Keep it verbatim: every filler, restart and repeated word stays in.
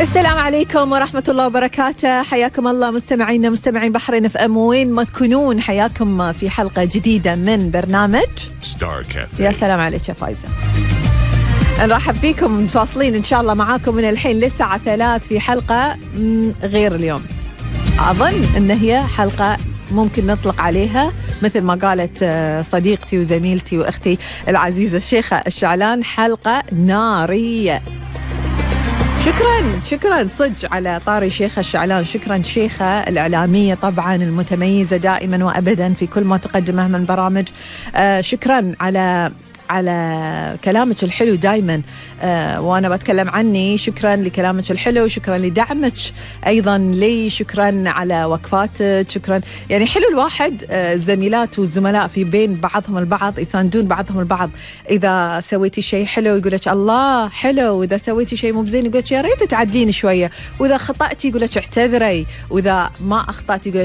السلام عليكم ورحمة الله وبركاته. حياكم الله مستمعينا مستمعين بحرين اف ام وين ما تكونون، حياكم في حلقة جديدة من برنامج ستار كافيه. يا سلام عليك يا فايزة. نرحب فيكم متواصلين إن شاء الله معاكم من الحين للساعة ثلاث في حلقة غير اليوم. أظن إن هي حلقة ممكن نطلق عليها مثل ما قالت صديقتي وزميلتي وأختي العزيزة الشيخة الشعلان، حلقة نارية. شكرا شكرا صج على طاري شيخة الشعلان، شكرا شيخة الإعلامية طبعا المتميزة دائما وأبدا في كل ما تقدمه من برامج. آه شكرا على على كلامك الحلو دايما، آه وأنا بتكلم عني. شكرا لكلامك الحلو، شكرا لدعمك أيضا لي، شكرا على وقفاتك، شكرا. يعني حلو الواحد آه الزميلات والزملاء في بين بعضهم البعض يساندون بعضهم البعض. إذا سويتي شيء حلو يقولك الله حلو، وإذا سويتي شيء مو بزين يقولك يا ريت تعدلين شوية، وإذا خطأتي يقولك اعتذري، وإذا ما أخطأتي يقولك